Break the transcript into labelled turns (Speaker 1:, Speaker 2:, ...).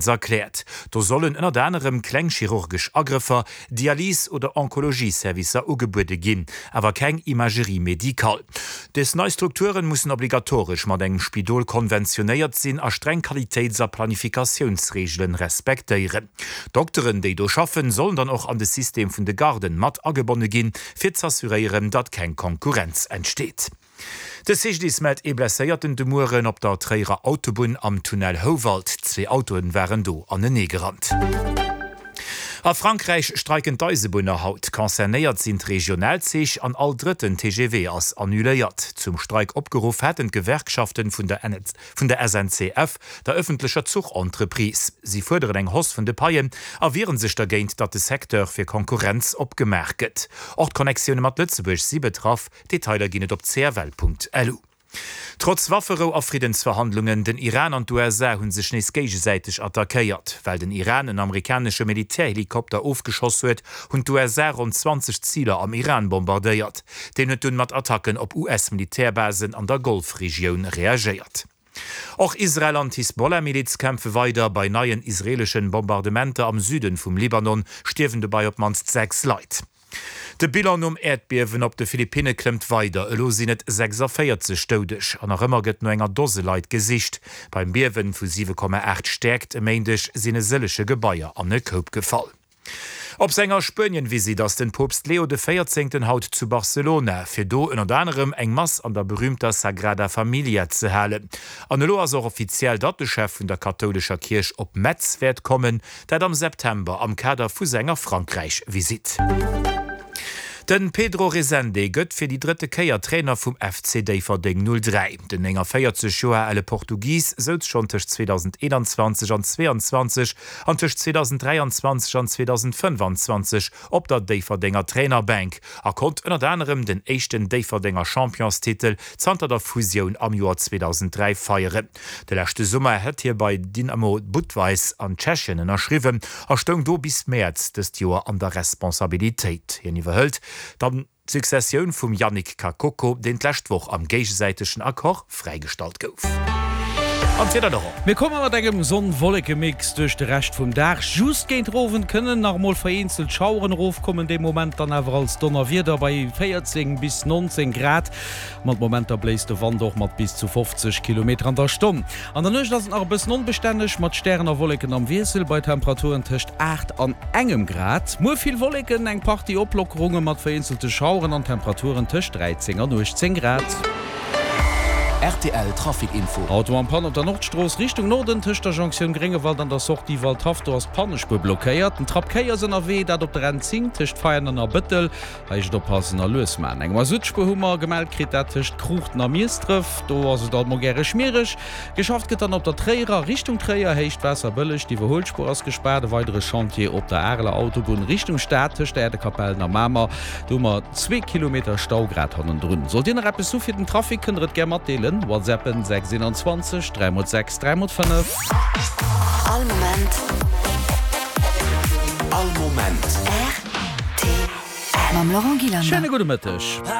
Speaker 1: Erkläert. Do sollen ënnert anerem kleng chirurgesch Agrëffer, Dialys oder Onkologie-Servicer ugebuede ginn, awer keng Imagerie médicale. Des nei Strukturen mussen obligatoresch mat engem Spidol konventionéiert sinn a streng Qualitéits a Planifikatiounsreegelen respektéieren. D'Dokteren, déi do schaffen, sollen dann och an de System vun de Garden mat agebonne ginn, fir z'assuréieren, datt keng Konkurrenz entsteet. De CGDIS mellt ee Blesséierten de Mueren op der Tréierer Autobunn am Tunnel Houwald. Zwee Autoen waren do anenee gerannt. A Frankräich streiken d'Eisebunner haut. Concernéiert sinn d'Regionalzich an all drëtten TGV ass annuléiert. Zum Streik opgeruff haten d'Gewerkschaften vun der vun der SNCF, der ëffentlecher Zuchentreprise. Si fuerderen eng Hausse vun de Paien a wieren sech dergéint, datt de Secteur fir Konkurrenz opgemaach gëtt. Och d'Connectioune mat Lëtzebuerg si betraff. Detailer ginn et op cfl.lu. Trotz Wafferou a Friddensverhandlungen, den Iran an d'USA hu sech nees géigesäiteg attackéiert. Well den Iran en amerikanesche Militärhelikopter ofgeschoss huet, hunn d'USA ronn 20 Ziler am Iran bombardéiert. Deen huet dunn mat Attacken op US-Militärbasen an der Golfregioun reagéiert. Och Israel an d'Hisbollah-Miliz kämpfe weider. Bei neien israeeleschen Bombardementer am Süden vum Libanon stierwen dobei op d'mannst 6 Leit. De Bilan nom Äerdbiewen op de Philippinne klëmmt weider, elo sinn et 46 Doudeg an nach ëmmer gëtt no enger Dose Leit gesicht. Beim Biewen vu 7,8 Stäerkt e Méindeg sinn e sëllege Gebaier an e Koup gefall. Op senger Spuenien-Visitt ass den Poopst Leo de Véierzéngten haut zu Barcelona, fir do ënnert anerem eng Mass an der berüümter Sagrada Familia ze halen. An elo ass och offiziell, datt de Chef vun der kathoulescher Kierch op Metz wäert kommen, dat am September am Kader vu senger Frankräich-Visitt. De Pedro Resende gëtt fir déi drëtte Kéier Trainer vum FC Déifferdeng 03. Den 49 Joer ale Portugis souz schonn tëscht 2021 an 22 an tëscht 2023 an 2025 op der Déifferdenger Trainerbänk a konnt ënnert anerem den éischten Déifferdenger Championstitel zanter der Fusioun am Joer 2003 feieren. De leschte Summer hätt hie bei Dynamo Budweis an Tschechien ënnerschriwwen a stoung do bis Mäerz dëst Joer an der Responsabilitéit. Hien iwwerhëlt dann d'Successioun vum Yannick Kakoko, deen d'lescht Woch am géigesäitegen Accord fräigestallt gouf.
Speaker 2: An d'Wieder, Laurent? Mir komme mat engem Sonn-Wolleke-Mix duerch de Rescht vum Dag. Just géint den Owend kënnen nach emol vereenzelt Schaueren erofkommen, dee Moment dann awer als Donnerwieder bei 14 bis 19 Grad. Mat Momenter bléist de Wand och mat bis zu 50 Kilometer an der Stonn. An der Nuecht ass et nach e bëssen onbestänneg, mat Stären a Wolleken am Wiessel, bei Temperaturen tëscht 8 an engem Grad. Muer vill Wolleken, eng Partie Oplockerunge mat vereenzelte Schaueren an Temperaturen tëscht 13 an 18 Grad.
Speaker 3: Rtl Trafic Info.
Speaker 2: Auto en panne op der Nordstrooss Richtung Norden tëscht der Jonktioun Gréngewald an der Sortie Waldhaff. Do ass d'Pannespuer blockéiert. Den Trapp Kéi ass ënnerwee, dat op der N10 tëscht Veianen a Bëttel. Hei heescht et oppassen a lues man. Eng Masuttspuer hu mer gemellt kritt, dat tëscht Kruuchten a Miesdref. Do ass et alt mol gäre schmiereg. Geschafft gëtt dann op der Tréierer Richtung Tréier, Héicht Waasserbëlleg. D'Iwwerhuelspuer ass gespaart. E weidere Chantier op der Areler Autobunn Richtung Stad tëscht der Äerdekapellen a Mamer. Do hu mer zwee Kilometer Stau grad hannendrun. Sollt Dir nach eppes hu fir den Trafic, kënnt der et gär matdeelen. Whatsappen 6 21 3 x 6 3 x 5.
Speaker 3: All Moment. All Moment.
Speaker 2: Mam Laurent Gillander. Schéine gudde Mëtteg.